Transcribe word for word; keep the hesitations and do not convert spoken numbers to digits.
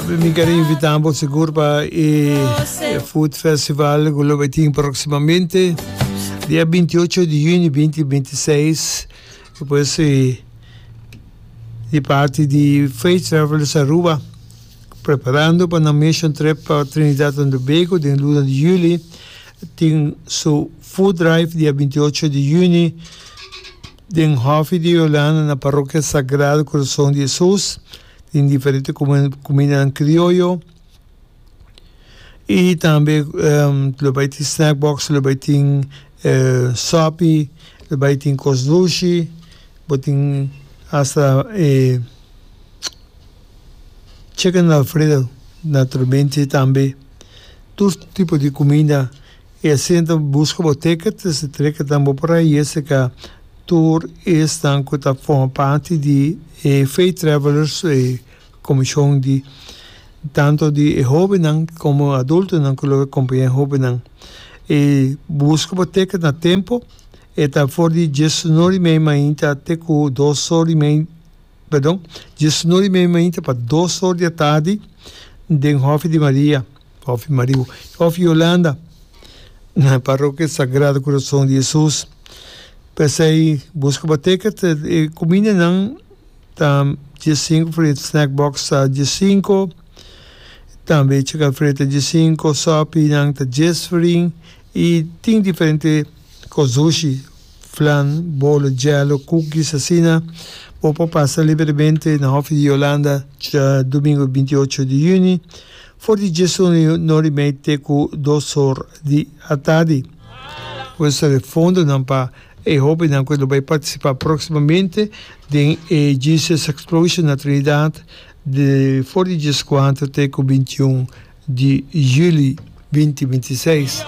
Mi kier invita bo sigur pa e Food Festival cu lo bay tin proximamente, dia binti ocho di juni dos mil binti seis. Pues eh, di parti di Faith Travelers Aruba, preparando pa un mission trip pa Trinidad and Tobago den luna di juli, tin su food drive dia binti ocho di juni den Hofi di Yolanda na Parokia Sagrado Corazon di Jesus. Tin diferente cuminda crioyo y tambe um, lo bay tin snack box, lo bay tin uh, sopi, lo bay tin cos dushi, bo tin hasta eh, chicken alfredo, naturalmente tambe tur tipo di cuminda. Y asina busca bo ticket, e ticket tambe por ey, esey cu tur esnan cu ta forma parti di eh, Faith Travelers, eh, comision di tanto di hobennan como adultonan cu lo acompaña hobennan. Y busca bo ticket na tempo, e ta for di diesun or y mei mainta te cu dos or y mei, perdon, diesun or y mei mainta pa dos or di atardi den Hofi di Maria, Hofi Maria, Hofi Yolanda, na Parokia Sagrado Corazon di Jesus. P'esey, busca bo ticket, e cumindanan ta diescinco, snack box ta diescinco, tambe chicken alfredo diescinco, sopi nan ta dies florin y tin diferente cos dushi, flan, bolo, jello, cookies, asina. Bo por pasa libremente na Hofi di Yolanda diadomingo binti ocho di juni, for di diesun or y mei te cu dos or di atardi. Pues e fondonan pa e hobennan cu bay participa proximamente den e Jesus Explosion na Trinidad di for di diescuater te cu binti un di juli dos mil binti seis.